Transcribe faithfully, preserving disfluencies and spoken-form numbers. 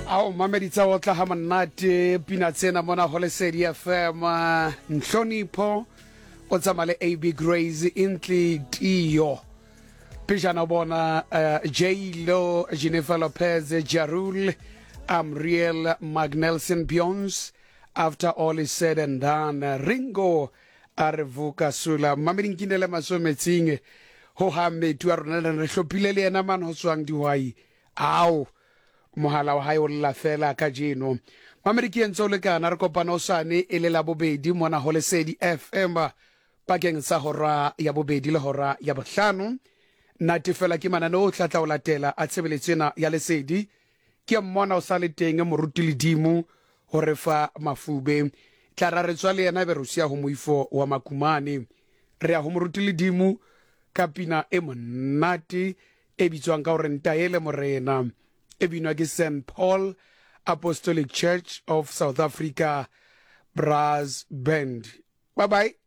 Ao mamedi tsa otla ha monate pina tsena mona ho Lesedi F M. Nhlonipho o tsamaya le A B Grace, Intle Tio, pejana bona uh, J Lo, Jennifer Lopez, Jarul, Amriel Magnelson, Beyonce, After All Is Said and Done, Ringo a re vuka sula. Mamedi nkinele masometsing ho ha metu a rona re hlophile le yena man ho tswang dihwai. Ao mohala wa hae o lla fela kajeno. Mamedi ke entse o lekana, re kopana osane e le la bobedi mona ho Lesedi F M pakeng sa hora ya bobedi le hora ya bohlano. Nate fela ke manane o tla tla o latela a tshebeletso ena ya Lesedi. Ke mmona o sa le teng moruti Ledimo ho re fa mafube, tla ra re tswa le yena, be re o siya ho moifo wa Makumane. Re ya ho moruti Ledimo ka pina e monate e bitswang ka hore Ntaele Morena, e binwa ke Saint Paul Apostolic Church of South Africa Brass Band. Bye bye.